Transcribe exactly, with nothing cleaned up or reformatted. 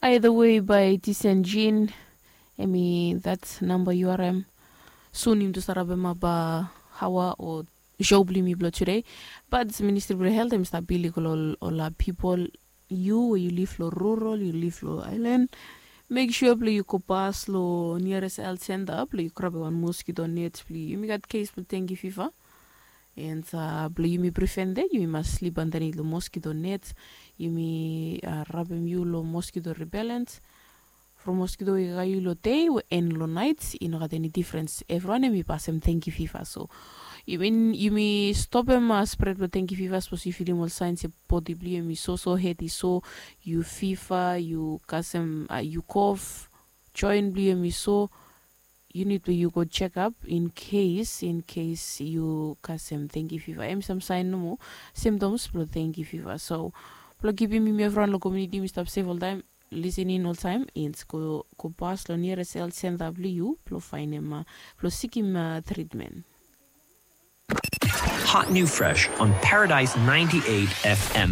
By the way, by Tisenjin, emi that number U R M. Soon him to start up him up uh, hawa or show blue me blow today. But Ministry of Health, him start billy all, all uh, people. You where you live lo rural, you live lo island. Make sure blue you go pass lo nearest health center, blue you grab one mosquito net, blue you make that case blue dengue fever. And uh, blue you me prevent that, you must sleep underneath the mosquito net. You me uh, rub him you lo mosquito repellent. From mosquito i gai yu lo dei en lo nait i no gat eni difrens. Evriwan em i pasem tenki fiva. So yumi stopem spred blo tenki fiva sapos yu filim ol sains ya bodi blo yu em i soso, hed i so, yu fiva, yu kasem, yu kof, joen blo yu em i so. Yu nid blo yu go jekap in kes in kes yu kasem tenki fiva. Em i sam sain nomo, simtoms blo tenki fiva. So blo kipim yumi evriwan lo komuniti yumi stap sef oltaem, lisin in oltaem, ins go go pas lo niares el senta blo yu blo faenem, blo sikim tritmen. Hot new fresh on Paradise ninety-eight F M.